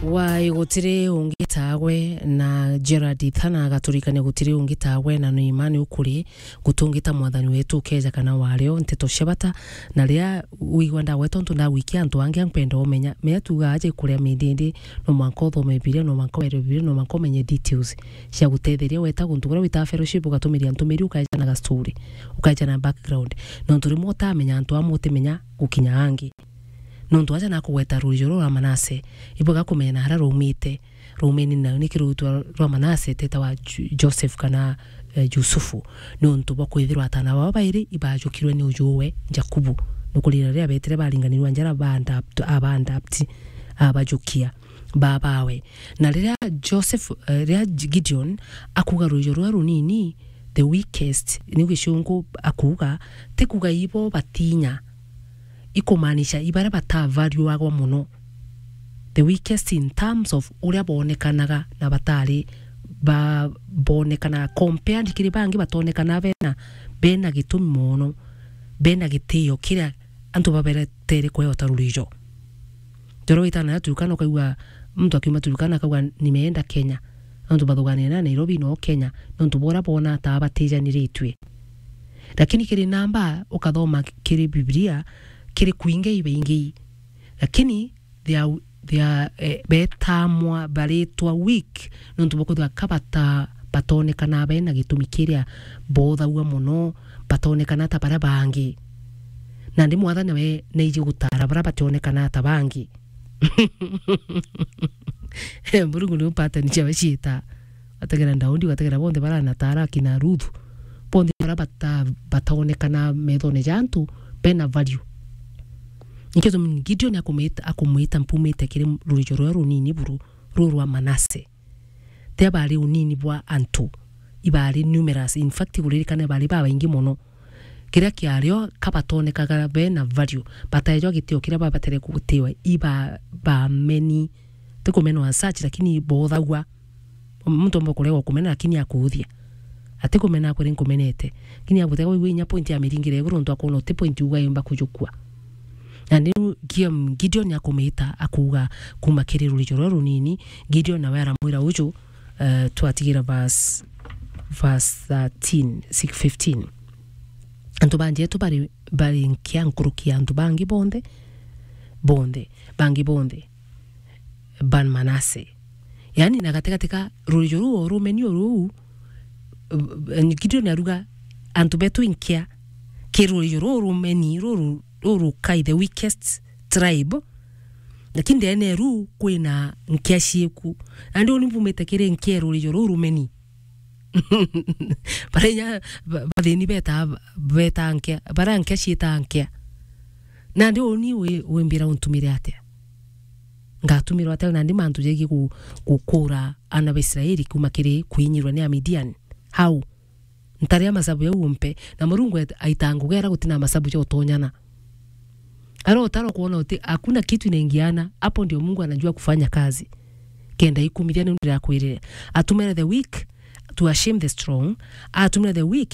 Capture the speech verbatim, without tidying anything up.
Wai gutiri ungi tagwe, na Gerard Ithana agaturikania gutiri ungi tagwe, na ni mma ni ukuri guti ungi ta Mwathani wetu ukeja kana wario nteto cia bata, na riria wigua ndagweta untu ndagwikia antu angi, ampenda umenya, mea tuga aje kuria mindindi, no mwanka uthome Bibilia, no mwanka were Bibilia, no mwanka umenye details cia gutetheria weta guntu kuria wita fellowship, ugatumiria ntumiri, ukaja na ga story, ukaja na background, nontu rimwe utamenya antu amwe utimenya gukinya angi. Nontu aja nakugweta rurijo ruu rwa Manase, ibwega kumenya na haria rwaumite. Rwaumeni na niki rwitwa rwa Manase teta wa Ju-, Joseph kana, eh, Yusufu, nontu bwa kwithirwa atana bao bairi ibajukirwe ni ujuwe Jakubu. Nukurira riria betire baringanirwa njara, ba adapt-, aba adapt, abajukia babawe. Na riria Joseph, eh, riria Gideon akuga rurijo rua runini, the weakest, ni gicungu akuga, ti kuga ibo batinya, ikumaanisha ibaria batavaluagwa mono, the weakest in terms of uria boonekanaga na batari ba-, boonekanaga compared kiri bangi, batonekana bena, bena gitumi mono, bena gitio kiria antu baberetere kweo ta rurijo. Njoro witana ya Turkana, ukaigua muntu akiuma Turkana akauga, "Nimeenda Kenya." Nontu bathuganire na Nairobi no Kenya, nontu bora bona ta batijaniritue. Lakini kiri namba ukathoma kiri Biblia, kiri kwingi ibaingi. Lakini they are, they are, eh, betamwa, baritwa weak, nontu bwa kwithirwa ka bata-, batonekana bena gitumi kiria bothagua mono, batonekana ta baria bangi. Nandi Mwathani we naiji gutara baria bationekana ta bangi. Murungu ni pattern ciawe ciita. Ugategera Daudi, ugategera bonthe baranatara akina Ruthu. Bonthe bara bata-, bataonekana methone ja antu, bena value. Nikio gitumi Gideon akumwita, akumwita, "Mpumite kiri rurijo ruria runini buru, ruu rwa Manase." Tia bari unini bwa antu, ibari numerous. In fact, kuririkana bari babaingi mono. Kiria kiario, ka batonekaga bena value, bataejwa gitio kiria babatere gutiwa, iba-, bameni. Ti kumenwa as such, lakini bothagua. Muntu omba kuregwa kumena, lakini akuuthia. Ati kumena akwire nkumenete. Lakini abutegwa igwe inya point ya miringire iguru, ntu akwona uti point uga yumba kujukua. Na niu Gideon akumita, akuuga, kuma kiri rurijo ruria runini, Gideon nawe aramwira uju, eh, twatigira verse, verse thirteen, six, fifteen. Antu banjetu bari, bari nkia nkuruki ya antu bangi bonthe, bonthe, bangi bonthe, ban Manase. Yaani, na gatigati ka rurijo ruu o rumenio ruu, eh, Gideon aruga, antu betu inkia, ki rurijo ruu rumeni, ruru, ruru kai the weakest tribe, lakini ndene ruu kwina nkia cieku. Nandi uni mbumite kiri nkia rurijo ruu rumeni. Baria inya ba-, bathini beta, beta nkia, baria nkia cieta nkia. Nandi uni wi-, wimbira untumire atia? Ngatumirwa atia nandi mantu jegie gu-, gukura ana ba Israeli kuma kiri kwinyirwa ni Amidian? How? Ntaria masabu jau umpe, na Murungu et-, aita ngugi aria gutina masabu ja utonyana. Ara utaro kuona uti, hakuna kitu inaingiana, hapo ndio Mungu anajua kufanya kazi. Kenda ikumithia ni ndirakwirire. Atumire the weak to ashame the strong, atumire the weak